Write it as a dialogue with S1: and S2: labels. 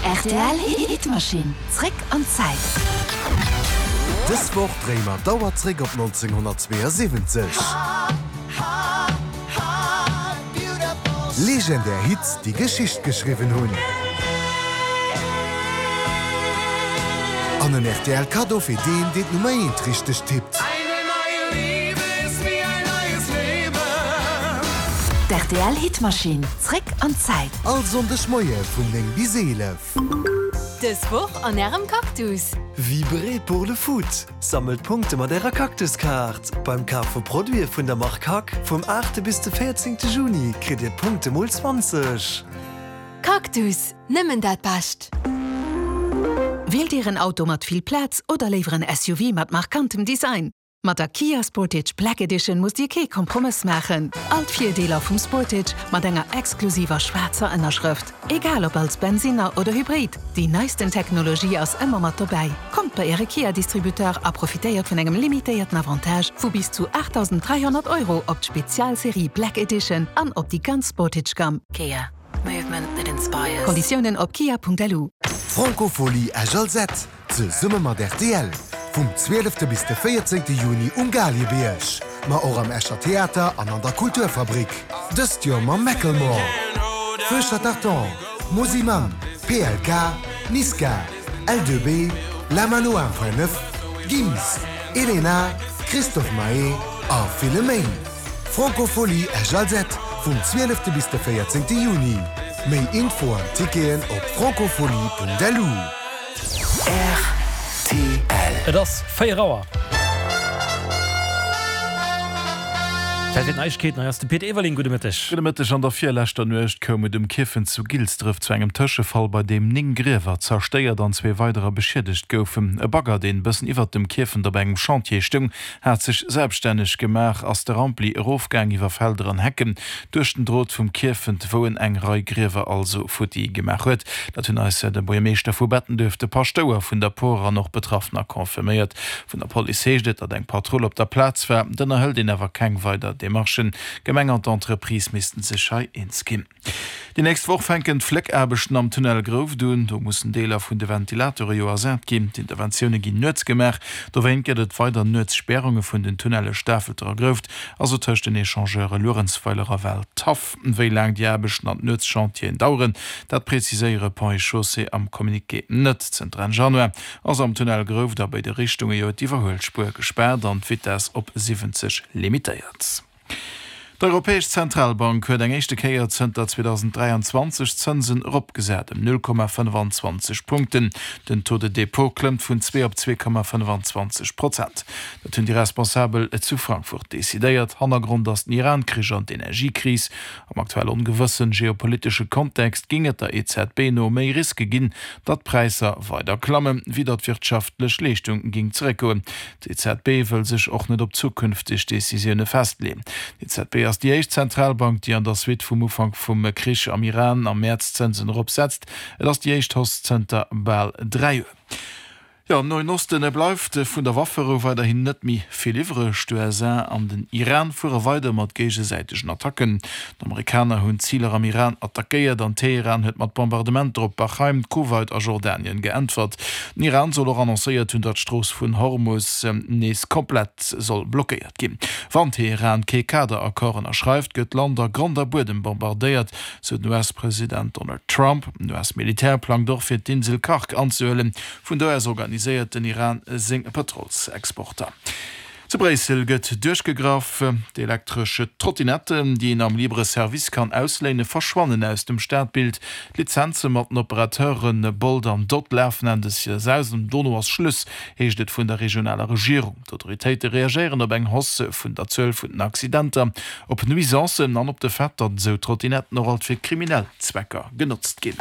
S1: Rtl Hitmaschinn, zréck an d'Zäit.
S2: Dës Woch dréie mer d'Auer zréck op 1972. Legendär Hits, déi Geschicht geschriwwen hunn. An en rtl Kaddo fir deen, deen d'Nummer eent richteg tippt.
S1: D'RTL Hitmaschinn, zréck an d'Zäit.
S2: All Sonndeg Moie vun 9 bis 11.
S1: Dës Woch an Ärem Cactus.
S3: Vibrez pour le foot! Sammelt Punkte mat Ärer Cactus-Kaart! Beim Kaf vu Produite vun der Mark Hack vum 8 bis de 14 Juni kritt Dir d'Punkte mol 20.
S1: Cactus, nëmmen dat Bescht!
S4: Wielt Dir en Auto mat vill Plaz oder léiwer en SUV mat markantem Design? Mat der Kia Sportage Black Edition musst Dir kee Kompromëss maachen. All d'Virdeeler vum Sportage mat enger exklusiver schwaarzer Ënnerschrëft. Egal ob als Bensinner oder Hybrid, déi neisten Technologie ass ëmmer mat dobäi. Kommt bei Äre Kia-Distributeur a profitéiert vun engem limitéierten Avantage vu bis zu 8.300 Euro op d'Spezialserie Black Edition an op déi ganz Sportage-Gamm.
S1: Kia. Movement that inspires.
S4: Konditiounen op kia.lu.
S2: D'Francophonie Esch-Alzette Zesumme mat rtl, vum 12 bis de 14 Juni um Galiebierg, ma och am Escher Theater an an der Kulturfabrik. Dëst Joer mam Macklemore, Feu Tartan, Mosimann, PLK, Niska, L2B, La Mano 1.9, Gims, Elena, Christophe Maé a ville méi. Francophonie Esch-Alzette vum 12 bis de 14 Juni. Méi Info an Ticketen op francophonie.lu.
S5: Rtl.
S6: Et ass 4 Auer. Zäit fir d'Neiegkeeten. Hei ass de Pit Everling. Gudde Mëtteg.
S7: Gudde Mëtteg. An der virleschter Nuecht koum et um Kierfent zu Gilsdref zu engem Tëschefall, bei deem 9 Griewer zerstéiert an zwee weiderer beschiedegt goufen. E Bagger, deen bëssen iwwert dem Kierfent op engem Chantier stoung, hat sech selbststänneg gemaach, ass de Rampli erofgaang iwwer Felder an Hecken duerch den Drot vum Kierfent, wou en eng Rei Griewer also futti gemaach huet. Dat hunn eis de Buergermeeschter vu Bettenduerf, de Paschtouer vun der Por an och Betraffener confirméiert. Vun der Police heescht et, datt eng Patrull op der Plaz war. Et ënnerhëlt een awer keng weider Demarchen. D'Gemeng an d'Entreprise missten sech hei eens ginn. Déi nächst Woch fänken d'Fléckaarbechten am Tunnel Grouft un. Do mussen Deeler vun de Ventilatore jo ersat ginn. D'Interventioune ginn nuets gemaach. Dowéint gëtt et weider nuets Spärunge vun den Tunnelle Stafelter a Grouft, also tëscht den Echangeure Luerenzweiler a Waldhaff. Wéi laang déi Aarbechten an d'Nuetschantieren daueren, dat preziséiere Ponts et Chaussées am Communiqué net. Zënter Enn Januar ass am Tunnel Grouft a béide Richtunge jo d'Iwwerhuelspuer gespaart an d'Vitess op 70 limitéiert. D'Europäesch Zentralbank huet eng éischte Kéier zënter 2023 d'Zënsen eropgesat, ëm 0,25 Punkten. Den Taux de dépôt klëmmt vun 2 op 2,25 Prozent. Dat hunn déi Responsabel zu Frankfurt decidéiert. Hannergrond ass den Iran-Krich an d'Energiekris. Am aktuell ongewëssen geopolitesche Kontext géing et der EZB no méi Riske ginn, datt d'Präisser weider klammen, wéi datt d'wirtschaftlech Leeschtung géing zeréckgoen. D'EZB wëll sech och net op zukünfteg Decisioune festleeën. D'EZB ass déi éischt Zentralbank, déi an der Suite vum Ufank vum Krich am Iran am Mäerz d'Zënsen eropsetzt. Et ass déi éischt Hausse zënter bal 3 Joer. Jo, am Noen Osten bleift vun der Wafferou weiderhin net méi vill iwwreg. D'USA an den Iran fuere weider mat géigesäitegen Attacken. D'Amerikaner hunn Ziler am Iran attackéiert an Teheran huet mat Bombardementer op Bahrain, Kuwait a Jordanien geäntwert. Den Iran soll och annoncéiert hunn, datt d'Strooss vun Hormus nees komplett soll blockéiert ginn. Wann Teheran kee Kaderaccord ënnerschreift, gëtt d'Land a Grond a Buedem bombardéiert, sou den US-President Donald Trump. Den US-Militär plangt och fir d'Insel Kharg anzehuelen. Vun do aus organiséiert den Iran seng Pëtrolsexporter. Zu Bréissel gëtt duerchgegraff. D'elektresch Trottinetten, déi een am Libre Service kann ausléinen, verschwannen aus dem Stadbild. D'Lizenze mat den Operateure Bolt an Dott lafen Enn des Joers aus an dono ass Schluss, heescht et vun der regionaler Regierung. D'Autoritéite reagéieren op eng Hausse vun der Zuel vun den Accidenter, op Nuisancen an op de Fait, datt esou Trottinetten och alt fir kriminell Zwecker genotzt ginn.